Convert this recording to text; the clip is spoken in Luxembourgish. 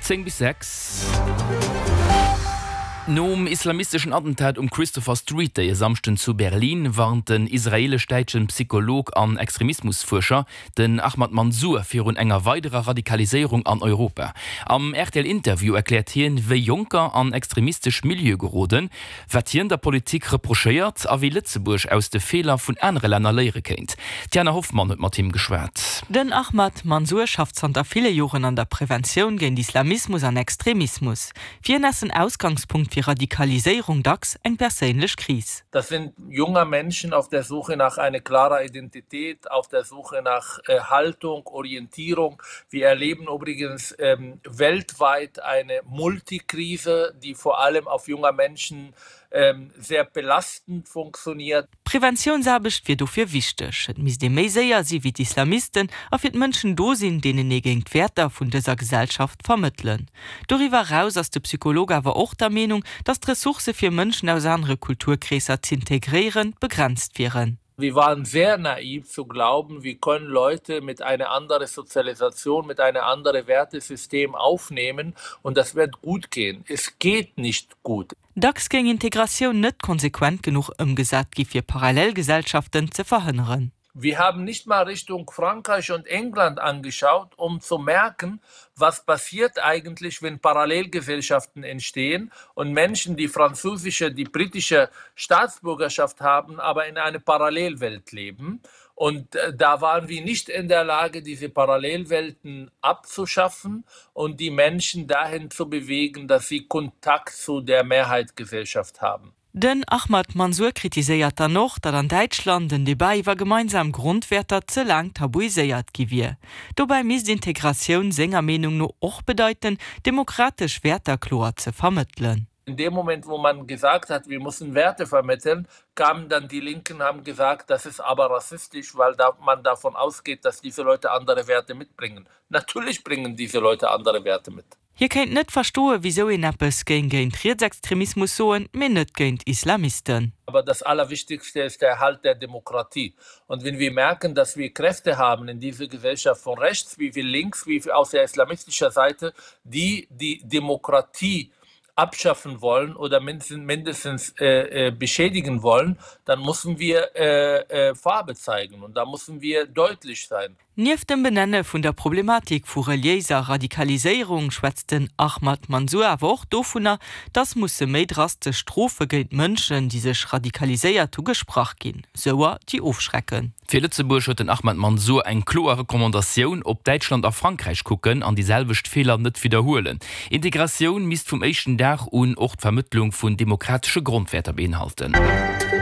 10 bis 6. Nom islamisteschen Attentat um Christopher Street Day e Samschden zu Berlin warnt den israelesch-däitschen Psycholog an Extremismusfuerscher, den Ahmad Mansour, virun enger weiderer Radikaliséierung an Europa. Am RTL-Interview erkläert hien, wéi Jonker an extremistesch Milieue geroden, Wat hien der Politik reprochéiert a wéi Lëtzebuerg aus de Feeler vun anere Länner léiere kéint. D'Jana Hoffmann huet mat him geschwat. Den Ahmad Mansour schafft zanter ville Joren an der Preventioun géint Islamismus an Extremismus. Fir hien ass den Ausgangspunkt fir Radikaliséierung dacks eng perséinlech Kris. Das sind junger Menschen auf der Suche nach eine klarer Identität, auf der Suche nach Haltung, Orientierung. Wir erleben übrigens ähm, weltweit eine Multikrise, die vor allem auf junger Menschen ähm, sehr belastend funktioniert. Preventiounsaarbecht wier dofir wichteg. Et misst ee méi séier si wéi d'Islamisten a fir d'Mënschen do sinn, deenen ee géing d'Wäerter vun dëser Gesellschaft vermëttelen. Doriwwer eraus ass de Psycholog awer och der Meenung, datt d'Ressourcë fir Mënschen aus anere Kulturkreesser z'integréieren, begrenzt wieren. Wir waren sehr naiv zu glauben, wir können Leute mit einer anderen Sozialisation, mit einem anderen Wertesystem aufnehmen und das wird gut gehen. Es geht nicht gut. Dacks géing Integratioun net konsequent genuch ëmgesat gi fir Parallelgesellschaften ze verhënneren. Wir haben nicht mal Richtung Frankreich und England angeschaut, um zu merken, was passiert eigentlich, wenn Parallelgesellschaften entstehen und Menschen, die französische, die britische Staatsbürgerschaft haben, aber in einer Parallelwelt leben. Und äh, da waren wir nicht in der Lage, diese Parallelwelten abzuschaffen und die Menschen dahin zu bewegen, dass sie Kontakt zu der Mehrheitsgesellschaft haben. Den Ahmad Mansour kritiséiert dann och, datt an Däitschland den Debat iwwer gemeinsam Grondwäerter ze laang tabuiséiert gi wier. Dobäi misst Integratioun senger Meenung no och bedeiten, demokratesch Wäerter kloer ze vermëttelen. In dem Moment, wo man gesagt hat, wir müssen Werte vermitteln, kamen dann die Linken haben gesagt, das ist aber rassistisch, weil da man davon ausgeht, dass diese Leute andere Werte mitbringen. Natürlich bringen diese Leute andere Werte mit. Hie kéint net verstoen, wisou een eppes géing géint Rietsextremismus soen, mee net géint Islamisten. Aber das Allerwichtigste ist der Erhalt der Demokratie. Und wenn wir merken, dass wir Kräfte haben in dieser Gesellschaft von rechts wie wie links, wie aus der islamistischer Seite, die die Demokratie abschaffen wollen oder mindestens äh, äh, beschädigen wollen, dann müssen wir äh, äh, Farbe zeigen und da müssen wir deutlich sein. Nieft dem Benenne vun der Problematik vu reliéiser Radikaliséierung schwätzt den Ahmad Mansour awer och dovunner, dass musse méi drastesch Strofe géint Mënschen, déi sech radikaliséiert hu gesprach ginn, souer déi ofschrecken. Fir Lëtzebuerg huet den Ahmad Mansour eng kloer Recommandatioun, Op Däitschland a Frankräich kucken an déi selwecht Feeler net widderhuelen. Integratioun misst vum éischten Dag un och d'Vermëttlung vun demokratesche Grondwäerter beinhalten.